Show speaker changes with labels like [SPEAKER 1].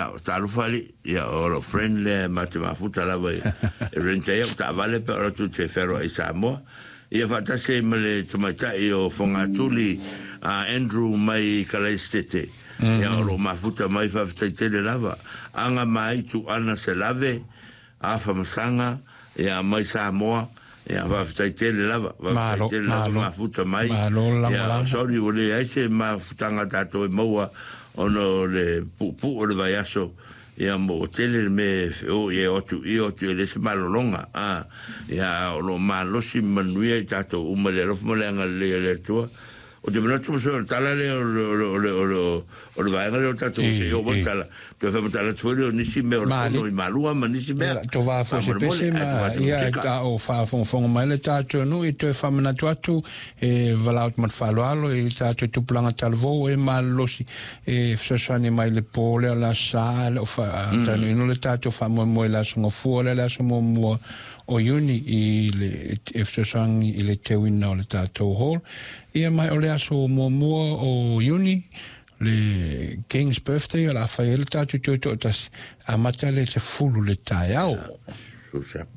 [SPEAKER 1] Ia, talofa alii, ia, o lou friend lea ma te mafuta lava e rent ai au taavale pe a oo atu te fealuai i Samoa. Ia faatasi ai ma le tamaitai o Fogatuli a Andrew mai Kalaisitete. Ia, o lo o mafuta mai, faafetai tele lava. Aga Maitu Ana Selave, Afa Masaga, ia, mai Samoa, ia, faafetai tele lava, faafetai tele lava mafuta mai. Ia, sorry ua leai se mafutaga a tatou e maua ona o le puupuu o le vaiaso, ia, ma ua tele le mea e o i ai, o atu i, o atu i, e leai se malologa, a, ia, a o lo o malosi ma manuia i tatou uma i le alofa ma le agalelei o le Atua. Ou te manatu o le tala lea o le, o le, o le, o le, o le vaega lea o tatou se i oo mai le tala, toe faamatala atu foi lea o nisi mea o le fono i Malua ma nisi mea.
[SPEAKER 2] Ia, tovā foi se pese ma, ia, a o faafogafoga mai le tatou nuu e toe faamanatu atu e valaau atu ma le faaaloalo i le tatou tupulaga talavou e malolosi e fesoasoani mai i le po lea o le Aso Sa a le o faataunuuina le tatou faamoemoe i le Aso Gafua lea le aso muamua o Iuni i le e fesoasoani i le teuina o le tatou hall. Ia mai o le aso muamua o Iuni, le King's Birthday, o le a fai ai le tatou toe toatasi, amata le 10 le taeao.
[SPEAKER 1] So sharp.